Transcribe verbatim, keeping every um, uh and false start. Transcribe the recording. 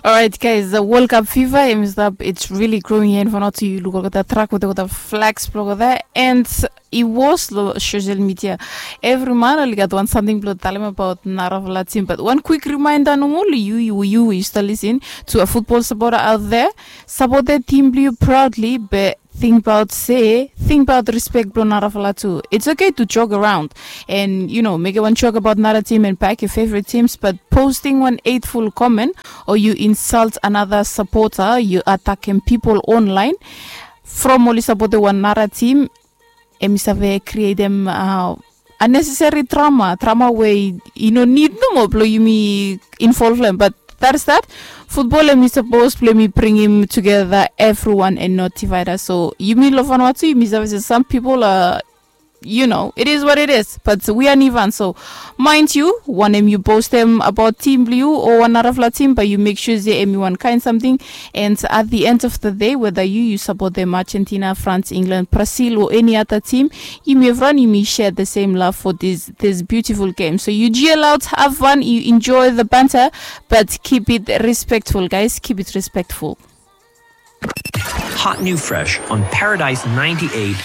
Alright, guys, the World Cup fever, em stap, it's really growing here in Vanuatu. Yu luk olgeta track wetem olgeta flags blong olgeta, and i was lo social media. Evri man oli gat wan samting blong talem abaot narafala tim, but wan kwik rimainda nomo lo yu, yu, yu, yu stap lisin to a football supporter out there. Sapotem tim blong yu proudly, be tingbaot se, tingbaot respect blong narafala tu. It's okay to joke around and, you know, mekem wan joke abaot nara tim and back your favorite teams, but posting wan hateful comment o yu insult another supporter, yu atakem pipol online from oli sapotem wan nara tim, em i save krietem uh, unnecessary drama, drama we i no nid nomo blong yumi involve lo hem. But that is that. Football, em i sapos blong yumi bringim together everyone and not divide us. So yumi lo Vanuatu, yumi save se some people are, you know, it is what it is, but we are Nivan. So mind you, wanem yu postem abaot tim blong yu o wan narafala tim, bae yu make sure se em i wan kaen samting. And at the end of the day, whether yu yu sapotem Argentina, France, England, Brazil o any other team, yumi evriwan yumi share the same love for this, this beautiful game. So yu G L out, have fun, yu enjoy the banter, but keep it respectful, guys, keep it respectful. Hot new fresh on Paradise ninety-eight